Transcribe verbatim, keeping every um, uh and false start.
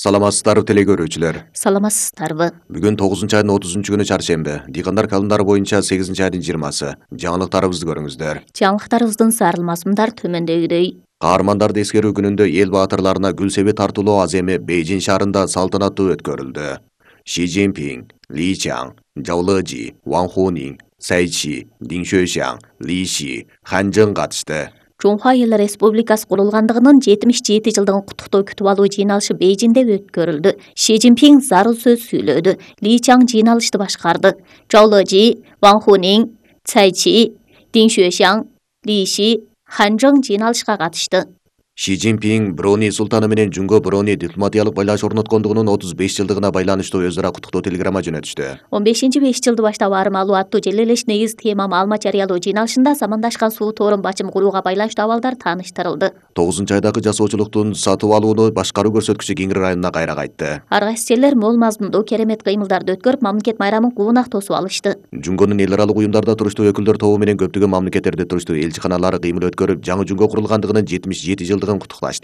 Саламатсыздарбы теле көрүүчүлөр. Саламатсыздарбы. Бүгүн тогузунчу айдын отузунчу күнү чаршемби. Дыйкандар календары боюнча сегизинчи айдын жыйырмасы. Жаңылыктарыбызды көрүңүздөр. Жаңылыктарыбыздын сарыл мазмундар төмөндөгүдөй. Каармандарды эскерүү күнүндө эл баатырларына гүл себи тартуулоо аз эми Бейжин шаарында салтанаттуу өткөрүлдү. Ши Цзиньпин, Ли Чаң, Жау Лежи, Ван Хунин, Цай Чи, Дин Xuexiang, Ли Ши, Хан Чжэн катышты. Жоңхуа Элдер Республикасы курулгандыгынын жетимиш жети жылдыгын куттуктоо күтүп алуу жыйналышы Бейжиңде өткөрүлдү. Ши Цзиньпин зарыл сөз сүйлөдү. Ли Чаң жыйналышты башкарды. Жау Лежи, Ван Хунин, Цай Чи, Дин Xuexiang, Ли Ши, Хан Чжэн жыйналышка катышты. Ши Цзиньпин Брони султаны менен Жунго Брони дипломатиялык байланыш орноткондугунун отуз беш жылдыгына байланыштуу өз ара куттуктоо телеграмма жөнөтүштү. он бешинчи беш жылды баштап ары малуу аттуу желелеш негиз тема маалымат жарыялоо жыйналышында замандашкан суу тоорун бачым курууга байланыштуу абалдар тааныштырылды. тогузунчу айдагы жасоочулуктун сатып алууну башкаруу көрсөткүчү Кеңир районуна кайра кайтты. Ар кайсы жерлер мол мазмундуу керемет кыймылдарды өткөрүп, мамлекет майрамын кубунак тосуп алышты. Жунгонун эл аралык уюмдарда туруштуу өкүлдөр тобу менен көптөгөн мамлекеттерде туруштуу элчиканалары кыймыл өткөрүп, жаңы Жунго курулгандыгынын жетимиш жети жылдыгын куттукташты.